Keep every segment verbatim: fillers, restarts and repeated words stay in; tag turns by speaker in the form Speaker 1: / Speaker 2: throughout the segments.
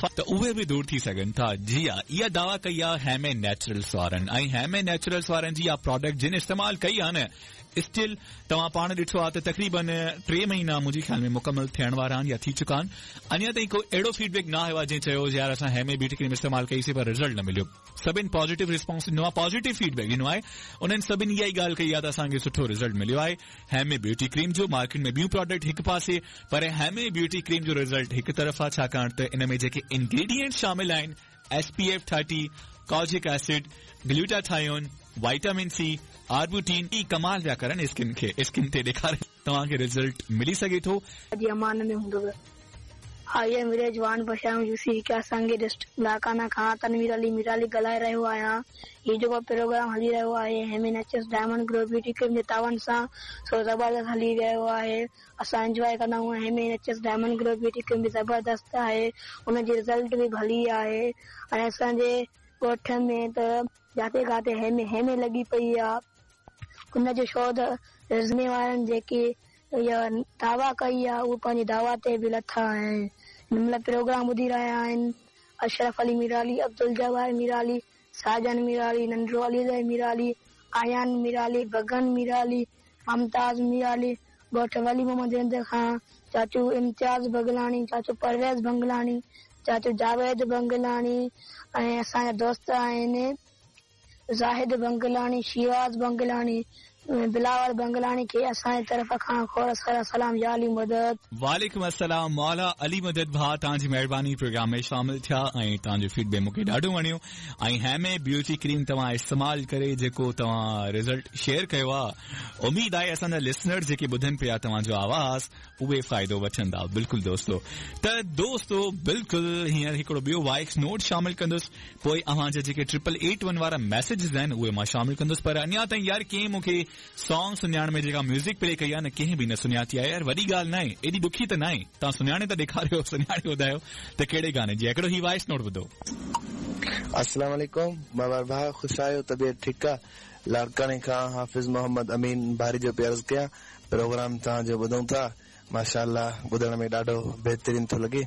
Speaker 1: त उहे बि दूर थी सघनि था। जी हा, इहा दावा कई आहे हेमे नेचुरल्स वारनि ऐं हेमे नेचुरल्स वारनि जी इहा प्रोडक्ट जिन इस्तेमालु कई आहे न, स्टिल तव्हां पाण ॾिठो आहे त तक़रीबन टे महीना मुंहिंजे ख़्याल में मुकमल थियण वारा आहिनि या थी चुका आहिनि। अञा ताईं को अहिड़ो फीडबैक न आयो आहे जंहिं चयो यार असां हेमे ब्यूटी क्रीम इस्तेमालु कईसीं पर रिज़ल्ट न मिलियो। सभिनि पॉज़िटिव रिस्पॉन्स ॾिनो आहे, पॉज़िटिव फीडबैक ॾिनो आहे। उन्हनि सभिनि इहा ई ॻाल्हि कई आहे त असांखे सुठो रिज़ल्ट मिलियो आहे हेमे ब्यूटी क्रीम जो। मार्केट में ॿियूं प्रोडक्ट हिकु पासे, पर हेमे ब्यूटी क्रीम जो रिज़ल्ट हिकु तरफ़ आहे, छाकाणि त इन में जेके इंग्रेडिएंट शामिल आहिनि S P F thirty, kojic acid, glutathione, vitamin C, arbutin, ई कमाल पिया करनि स्किन खे, स्किन ते ॾेखारे तव्हांखे रिज़ल्ट मिली सघे थो।
Speaker 2: जी अमान में हूंदो I am Rizwan बशाम यूसी क्या संगे डिस्ट्रिक्ट लाकाना खां तनवीर अली मीराली ॻाल्हाए रहियो आहियां। हीउ जेको प्रोग्राम हली रहियो आहे Heme Naturals diamond glow beauty cream जे तावन सां, सो ज़बरदस्त हली रहियो आहे। असां इंजॉय कंदा आहियूं। Heme Naturals diamond glow beauty cream बि ज़बरदस्त आहे, उनजी रिज़ल्ट बि भली आहे। ऐं असांजे ॻोठ में त जाते खाते हेमे हेमे लॻी पई आहे। उनजो शोध रिज़मे वारनि जेकी इहा दावा कई आहे उहो पंहिंजी दावा ते बि लथा आहिनि। हिन महिल प्रोग्राम ॿुधी रहिया आहिनि अशरफ अली मीराली, अब्दुल जवार मीराली, साजन मीराली, नंढो अली मीराली, आयान मीराली, बगन मीराली, मुमताज़ मीराली, ॻोठ वली मोहम्मद रिंद खां चाचू इम्तियाज़ बगलानी, चाचू परवेज़ बंगलानी, चाचू जावेद बंगलानी ऐं असांजा दोस्त आहिनि ज़ाहिद बंगलानी, शिवाज़ बंगलानी, बिलावल बंगलानी खे असांजे तरफ़ खां खोड़ सारा सलाम। या अली मदद।
Speaker 1: वालेकुम अस्सलाम मौला अली मदद भाउ, तव्हांजी महिरबानी प्रोग्राम में शामिल थिया ऐं तव्हांजो फीडबैक मूंखे ॾाढो वणियो। ऐं हेमे ब्यूटी क्रीम तव्हां इस्तेमालु करे जेको तव्हां रिज़ल्ट शेयर कयो आहे, उम्मीद आहे असांजा लिसनर जेके ॿुधनि पिया तव्हांजो आवाज़ उहे फ़ाइदो वठंदा। बिल्कुलु दोस्तो, त दोस्तो बिल्कुलु हींअर हिकिड़ो ॿियो वॉइस नोट शामिल कंदुसि, पोइ अव्हांजा जेके ट्रिपल एट वन वारा मैसेजेस आहिनि उहे मां शामिल कंदुसि। पर अञा ताईं यार कंहिं मूंखे सॉन्ग सुञाण में जेका म्यूज़िक प्ले कई आहे न, कंहिं बि न सुञाती आहे। यार वॾी ॻाल्हि न आहे, एॾी ॾुखी त न आहे, तव्हां सुञाणे त ॾेखारियो, सुञाणे ॿुधायो त कहिड़े गाने जी। हिकिड़ो ही वॉइस नोट ॿुधो।
Speaker 3: अस्सलाम वालेकुम बाबा भाउ, ख़ुशि आहियो? तबियत ठीकु आहे? लाड़काणे खां हाफ़िज़ मोहम्मद अमीन भारी जो पियो अर्ज़ु कयां। प्रोग्राम तव्हांजो ॿुधूं था, माशाअल्लाह ॿुधण में ॾाढो बहितरीन थो लॻे,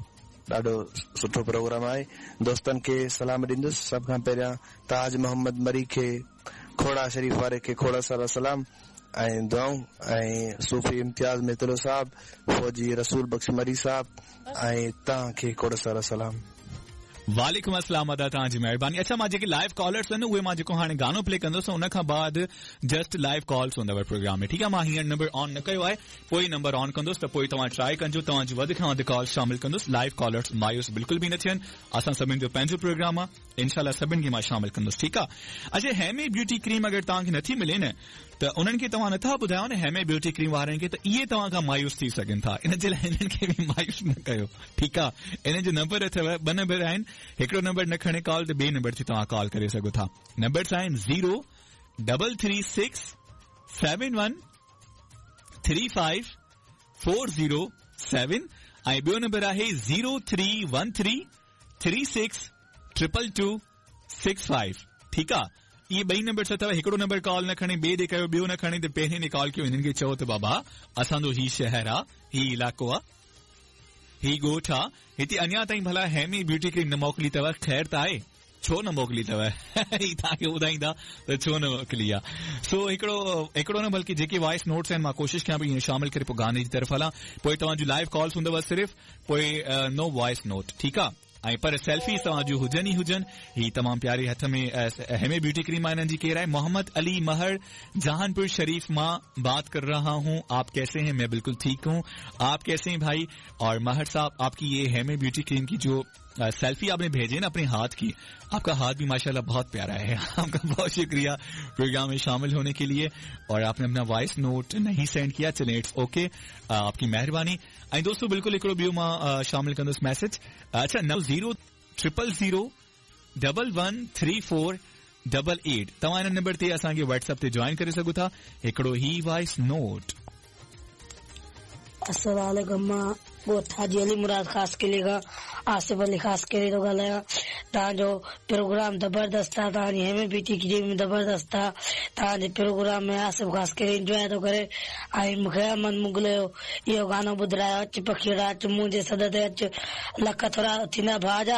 Speaker 3: ॾाढो सुठो प्रोग्राम आहे। दोस्तनि खे सलाम ॾींदुसि। सभ खां पहिरियां ताज मोहम्मद मरी खे, खोड़ा शरीफ वारे खे खोड़ा सारा सलाम ऐं दुआऊं, ऐं सूफ़ी इम्तियाज़ मेतलो साहब, फौजी रसूल बख़्श मरी साहब ऐं तव्हांखे खोड़ सारा सलाम।
Speaker 1: वालेकुम अस्सलाम अदा, तव्हांजी महिरबानी। अच्छा, मां जेके लाइव कॉलर्स आहिनि उहे मां जेको हाणे गानो प्ले कंदुसि उन खां बाद जस्ट लाइव कॉल्स हूंदव प्रोग्राम में, ठीकु आहे? मां हींअर नंबर ऑन न कयो आहे, पोइ नंबर ऑन कंदुसि त पोइ तव्हां ट्राई कंजो, तव्हांजी वधि खां वधि कॉल शामिल कंदुसि। लाइव कॉलर्स मायूस बिल्कुलु बि न थियनि, असां सभिनि जो पंहिंजो प्रोग्राम आहे, इंशाअल्लाह सभिनि खे मां शामिल कंदुसि, ठीकु आहे? अच्छा, हेमे ब्यूटी क्रीम अगरि तव्हांखे नथी मिले न त उन्हनि खे तव्हां नथा ॿुधायो न हेमे ब्यूटी क्रीम वारनि खे, त इहे तव्हां खां मायूस थी सघनि था, इन जे लाइ हिननि खे बि मायूस न कयो, ठीकु आहे? इन जो नंबर अथव, ॿ नंबर आहिनि, हिकिड़ो नंबर न खणे कॉल त ॿिए नंबर ते तव्हां कॉल करे सघो था। नंबर्स आहिनि zero double three six seven one three five four zero seven ऐं ॿियो नंबर आहे zero three one three three six triple two six five, ठीकु आहे? इहे ॿई नंबर अथव, हिकिड़ो नंबर कॉल न खणे ॿिए ॾे कयो, ॿियो न खणे त पहिरीं ॾे कॉल कयो, हिननि खे चओ त बाबा असांजो ही शहर आहे, ही इलाइक़ो आहे, ही ॻोठ आहे, हिते अञा ताईं भला हेमी ब्यूटी क्रीम न मोकिली अथव, ख़ैर त आहे, छो न मोकिली अथव? ही तव्हांखे ॿुधाईंदा त छो न मोकिली आहे। सो हिकिड़ो हिकिड़ो न बल्कि जेके वॉइस नोट्स आहिनि मां कोशिशि कयां पई ईअं शामिल करे पोइ गाने जी तरफ़ हलां, पोइ तव्हांजूं लाइव कॉल्स हूंदव सिर्फ़, पोइ नो वॉइस नोट, ठीकु आहे? ऐं पर सेल्फी तव्हांजूं हुजनि ई हुजनि। ही तमामु प्यारे हथ में हेमे ब्यूटी क्रीम आहे, हिननि जी केरु आहे? मोहम्मद अली महर, जहानपुर शरीफ मां बात कर रहा हूं, आप कैसे हैं? मैं बिल्कुल ठीक हूं, आप कैसे हैं भाई? और महर साहब, आपकी ये हेमे ब्यूटी क्रीम की जो सेल्फी आपने भेजे ना अपने हाथ की, आपका हाथ भी माशाल्लाह बहुत प्यारा है। आपका बहुत शुक्रिया प्रोग्राम में शामिल होने के लिए। और आपने अपना वॉइस नोट नहीं सेंड किया, चलें it's okay, आपकी मेहरबानी। ऐं दोस्तों बिल्कुल हिकिड़ो ॿियो मां शामिल कंदुसि मैसेज। अच्छा, नौ zero triple zero double one three four double eight तव्हां हिन नंबर ते असांखे व्हाट्सएप ते जॉइन करे सघो था। हिकिड़ो ही वॉइस नोट।
Speaker 4: अस्सलाम वालेकुम, मां ॻोठ हाजी अली मुराद ख़ास किले खां आसिफ अली ख़ास किले थो ॻाल्हायां। तव्हांजो प्रोग्राम ज़बरदस्त आहे, तव्हांजी हेमे ब्यूटी क्रीम ज़बरदस्त आहे। तव्हांजे प्रोग्राम में आसिफ ख़ास करे इंजॉय थो करे। ऐं मूंखे अमन मुग़ल जो इहो गानो ॿुधारायो, अच पखीड़ा अच मुंहिंजे सॾ ते अच, लख थोरा थींदा भाउ जा।